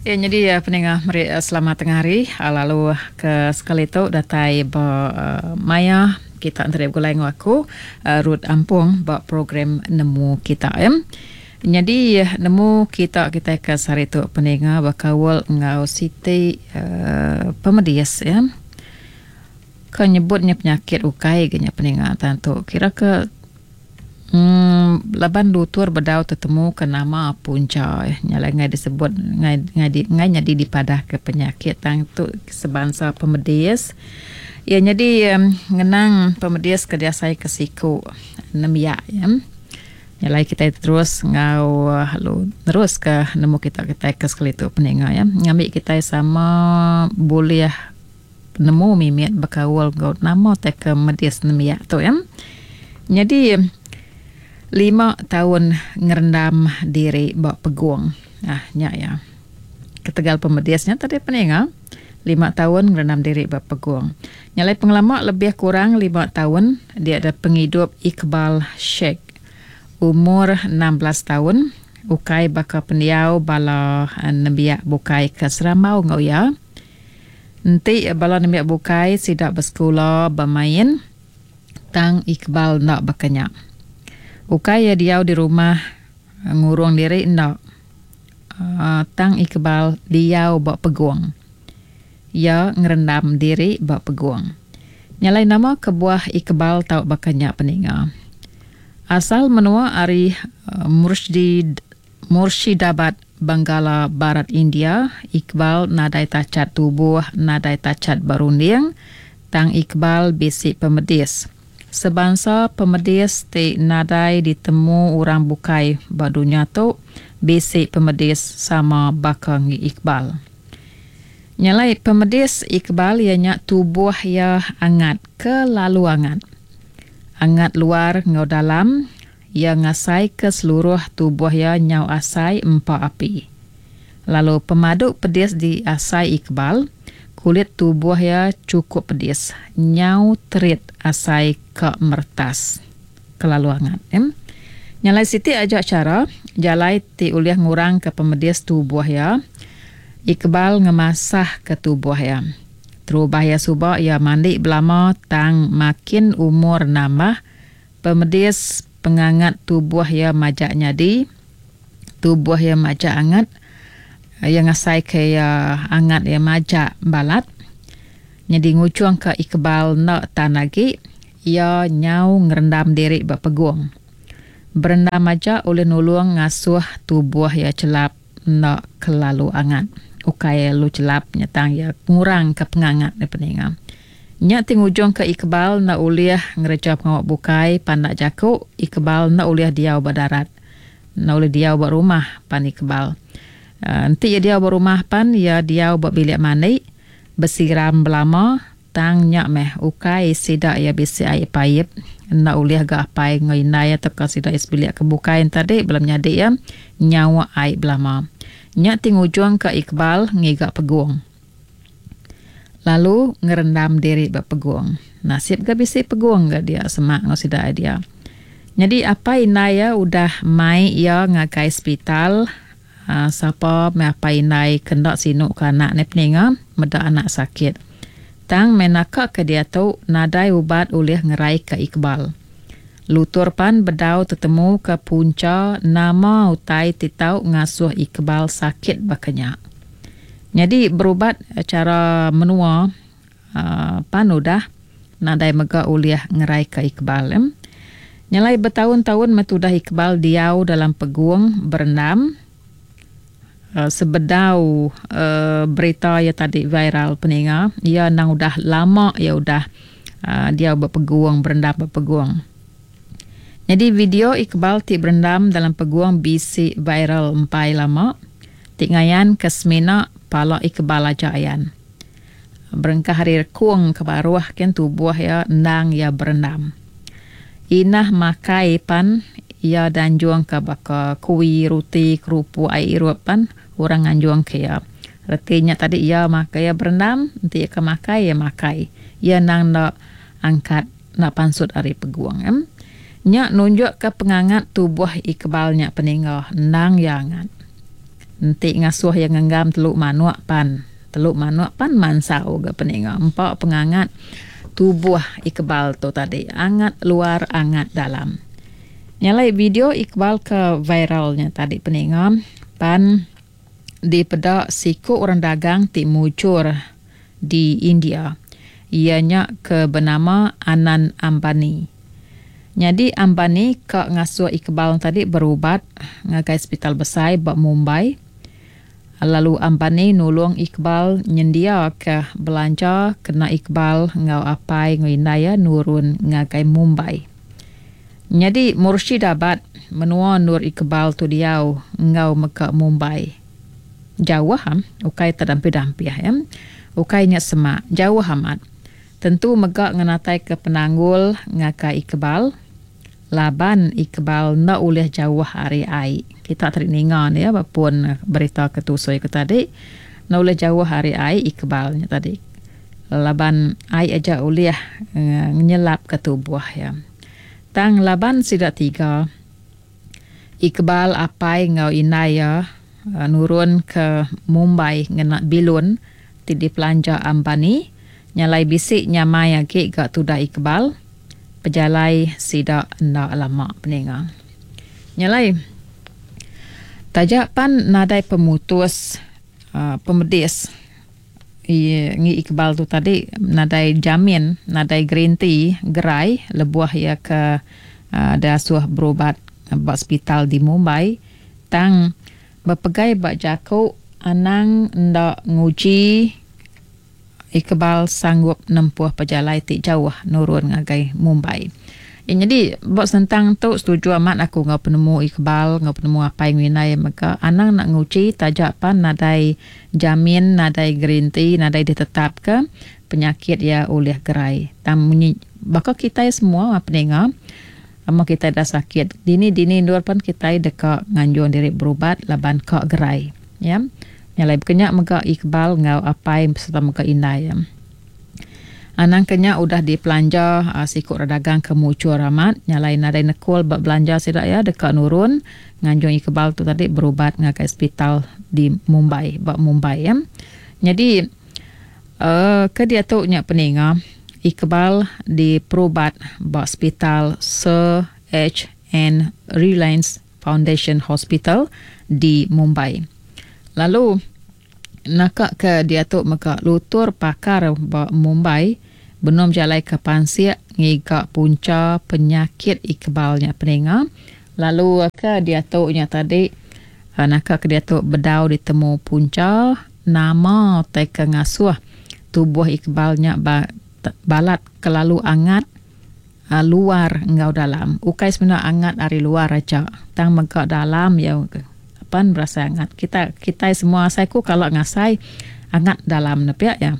Ya nyadi peninga meri selamat tengah hari lalu ke sekali tu datai ba maya kita enteri begulai enggau aku Ruth Ampong ba program Nemu Kita ya. Nyadi nemu kita kitai ke sehari tu peninga bekaul enggau siti pemedis ya. Ke nyebut nya penyakit ukai ga nya peninga tang tu kira ke Laban lutur bedau tetemu ke nama puncha nya alai enggai disebut enggai enggai nyadi dipadah ke penyakit tang tu sebansa pemedis. Iya nyadi ngenang pemedis ke diasai ke siku nembiak iya. Nya alai kitai terus enggau lalu nerus ke nemu kita kitai ke sekali tu peninga iya ngambi kitai sama bulih Penemu mimit bekaul enggau nama tai ke medis nembiak tu iya. Nyadi lima taun ngerendam diri ba pegung. Ah nya iya. Ketegal pemedis nya tadi peninga lima taun ngerendam diri ba pegung. Nya alai pengelama lebih kurang lima taun dia da pengidup Iqbal Sheikh umur 16 taun ukai baka pendiau bala nembiak bukai ke serambau enggau iya. Enti bala nembiak bukai sida besekula bemain tang Iqbal enda baka nya. Ukai iya diau di rumah ngurung diri enda tang Iqbal diau ba pegung. Iya ngerendam diri ba pegung. Nya alai nama kebuah Iqbal tau baka nya peninga. Asal menua ari Murshid Murshidabad, Benggala Barat India, Iqbal nadai tachat tubuh, nadai tachat ba runding, tang Iqbal bisi pemedis. Sebansa pemedis ti nadai ditemu orang bukai ba dunya tu bisi pemedis sama baka enggi Iqbal. Nya alai pemedis Iqbal iya nya tubuh iya angat kelalu angat. Angat luar enggau dalam. Iya ngasaika seluruh tubuh iya nyau asai empa api. Lalu pemadu pedis diasai Iqbal, kulit tubuh iya chukup pedis, nyau terit asai ka meretas. Kelalu angat. Nya alai siti aja chara jalai ti ulih ngurangka pemedis tubuh iya, Iqbal ngemasahka tubuh iya. Terubah iya suba iya mandi belama tang makin umur nambah, Pemedis pengangat tubuh iya majak nyadi. Tubuh iya majak angat. Iya ngasaika iya angat iya majak balat. Nyadi ngujungka Iqbal enda tan agi, iya nyau ngerendam diri ba pegung. Berendam aja ulih nulung ngasuh tubuh iya chelap enda kelalu angat. Ukai lalu chelap nya tang iya ngurangka pengangat iya peninga. Nya ti ngujungka Iqbal enda ulih ngereja pengawa bukai pandak jaku, Iqbal enda ulih diau ba darat. Enda ulih diau ba rumah pan Iqbal. Enti iya diau ba rumah pan iya diau ba bilik mandi, besiram belama tang nya meh ukai sida iya bisi ai paip. Enda ulih ga apai enggau indai tauka sida iya sebilik ke bukai enti tadi bala menyadi iya nyauk ai belama. Nya ti ngujungka Iqbal ngiga pegung. Lalu ngerendam diri ba pegung. Nasib ga bisi pegung ga dia semak enggau sida ai dia. Nyadi apai indai iya udah mai iya ngagai sepital aaa sapa meh apai indai ke enda sinu ke anak ne peninga meda anak sakit. Tang meh naka ke diatu nadai ubat ulih ngeraika Iqbal. Lutur pan bedau tetemuka puncha nama utai ti tau ngasuh Iqbal sakit baka nya. Nyadi berubat chara menua pan udah nadai mega ulih ngeraika Iqbal. Nyelai betaun-taun meh tudah Iqbal diau dalam pegung berendam sebedau berita iya tadi viral peninga iya endang udah lama iya udah diau ba pegung berendam ba pegung. Nyadi video Iqbal ti berendam dalam pegung bisi viral empai lama. Ti ngayan ke semina pala Iqbal aja ayan. Berengkah ari rekung ke baruh kin tubuh iya endang iya berendam. Inah makai pan iya danjung ke baka kuie, ruti, kerupuk, ai irup pan orang nganjung ke iya. Reti nya tadi iya makai iya berendam enti iya ke makai iya makai. Iya endang enda angkat enda pansut ari pegung. Nya nunjuk ke pengangat tubuh Iqbal nya peningga endang iya angat. Enti ngasuh iya ngenggam telu manuk pan, telu manuk pan mansau ga peninga empa pengangat tubuh Iqbal tu tadi angat luar angat dalam. Nya alai video Iqbal ke viral nya tadi peninga pan dipeda siku orang dagang ti mujur di India iya nya ke benama Anand Ambani. Nyadi Ambani ka ngasuh Iqbal tadi berubat ngagai sepital besai ba Mumbai lalu Ambani nulung Iqbal nyendiaka belanja kena Iqbal enggau apai enggau indai iya nurun ngagai Mumbai. Nyadi Murshidabad menua endur Iqbal tu diau enggau mega Mumbai. Jauh am, ukai tedampih-dampih ya. Ukai nya semak, jauh amat. Tentu mega ngenataika penanggul ngagai Iqbal laban Iqbal enda ulih jauh ari ai. Kita tadi ninga ne ya ba pun berita ke tusui ku tadi. Enda ulih jauh ari ai Iqbal nya tadi. Laban ai aja ulih ngenyelapka tubuh iya. Tang laban sida tiga, Iqbal apai enggau indai iya nurun ke Mumbai ngena bilun ti dipelanja Ambani, nyalai bisi nyamai agi ga tudah Iqbal, pejalai sida enda lama peninga. Nyalai taja pan nadai pemutus pemedis. Ngi Iqbal tu tadi nadai jamin, nadai gerinti gerai lebuh iya ke diasuh berubat ba sepital di Mumbai. Tang bepegai ba jaku anang enda nguji Iqbal sanggup nempuh pejalai ti jauh nurun ngagai Mumbai. Nyadi ba sentang tu setuju amat aku enggau penemu Iqbal enggau penemu apai enggau indai mega anang enda nguji taja pan nadai Jamin nadai gerinti nadai ditetapka penyakit iya ulih gerai. Tang munyi baka kitai semua peninga lama kitai dah sakit dini dini endur pan kitai deka nganjung diri berubat laban ka gerai. Ya. Nya alai baka nya mega Iqbal enggau apai sereta mega indai iya. Anang ke nya udah dipelanja siku orang dagang ke mujur amat nya alai nadai nekul ba belanja sida iya deka nurun nganjung Iqbal tu tadi berubat ngagai sepital di Mumbai ba Mumbai ya. Nyadi uhh ke diatu nya peninga Iqbal diperubat ba sepital Sir H N Reliance Foundation Hospital di Mumbai. Lalu Naka ke diatu mega lutur pakar ba Mumbai benung bejalaika pansik ngiga puncha penyakit Iqbal nya peninga lalu ke diatu nya tadi naka ke diatu bedau ditemu puncha nama tai ke ngasuh tubuh Iqbal nya balat kelalu angat luar enggau dalam. Ukai semina angat ari luar aja tang mega dalam iya pan berasai angat. Kita kitai semua asai ku kala ngasai angat dalam ne pia iya.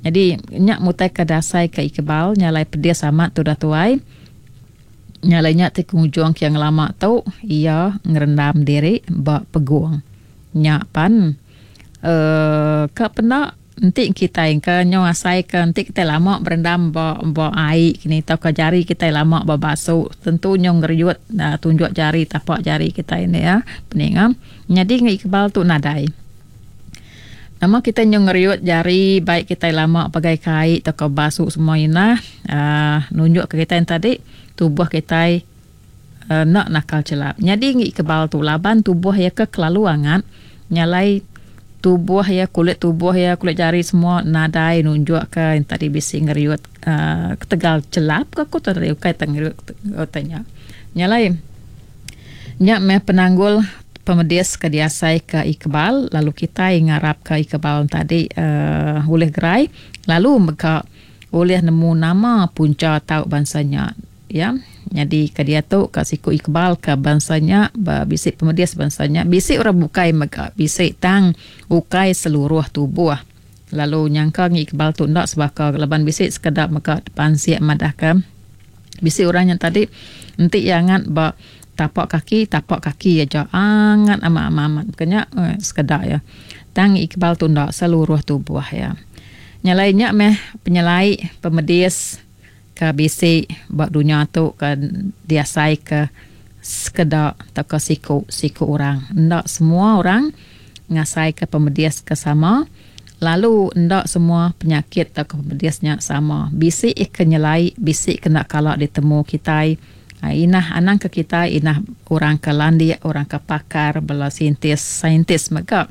Nyadi nya mutai ke dasai ke Iqbal nya alai pedis amat tudah tuai. Nya alai nya ti pengujung ke ngelama tu iya ngerendam diri ba pegung. Nya pan uhh ka penda. Enti kitai engka nyau asai ke enti kitai lama berendam ba ba ai kini tauka jari kitai lama ba basu tentu nyau ngeriut tunjuk jari tapak jari kitai enda iya peninga. Nyadi enggau Iqbal tu nadai. Nama kitai nyau ngeriut jari baik kitai lama pagai ke ai tauka basu semua inah uhh nunjuk ke kitai tadi tubuh kitai enda nakal chelap. Nyadi ngi kebal tu laban tubuh iya ke kelalu angat nyalai tubuh iya kulit tubuh iya kulit jari semua nadai nunjuk ke tadi bisi ngeriut uhh ketegal chelap ka ku tadi ukai te ngeriut utai nya. Nyalai nya meh penanggul pemedis ke diasai ke Iqbal lalu kitai ngarap ke Iqbal tadi uhh ulih gerai lalu mega ulih nemu nama puncha tau bansa nya. Iya nyadi ke diatu ka siku Iqbal ka bansa nya ba bisi pemedis bansa nya bisi orang bukai mega bisi tang ukai seluruh tubuh lalu nyangka ngi Iqbal tu enda sebaka laban bisi sekeda mega pansik madahka bisi orang nya tadi enti iya angat ba tapak kaki tapak kaki aja angat amat amat amat ke nya sekeda iya tang Iqbal tu enda seluruh tubuh iya. Nya alai nya meh penyelai pemedis. Ke bisi ba dunya tu ke diasaika sekeda tauka siku siku orang. Enda semua orang. ngasaika pemedis ke sama lalu enda semua penyakit tauka pemedis nya sama. Bisi ke nyelai, bisi ke enda kala ditemu kitai. Inah anang ke kitai inah orang ke landik, orang ke pakar bala saintis saintis mega.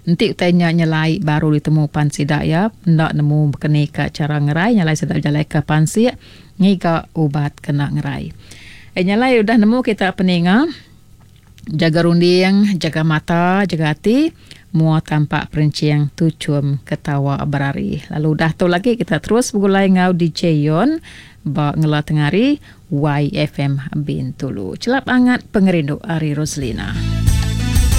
Enti utai nya nyelai baru ditemu pan sida iya enda nemu bekeni ka chara ngerai nyelai sida bejalaika pansik ngiga ubat kena ngerai. Nyelai udah nemu kita peninga. Jaga runding, jaga mata, jaga ati, mua tampak perenching tuchum ketawa berari. Lalu udah tu lagi kita terus begulai enggau DJ Yon ba ngela tengah hari YFM Bintulu. Chelap angat pengerindu ari Roslina.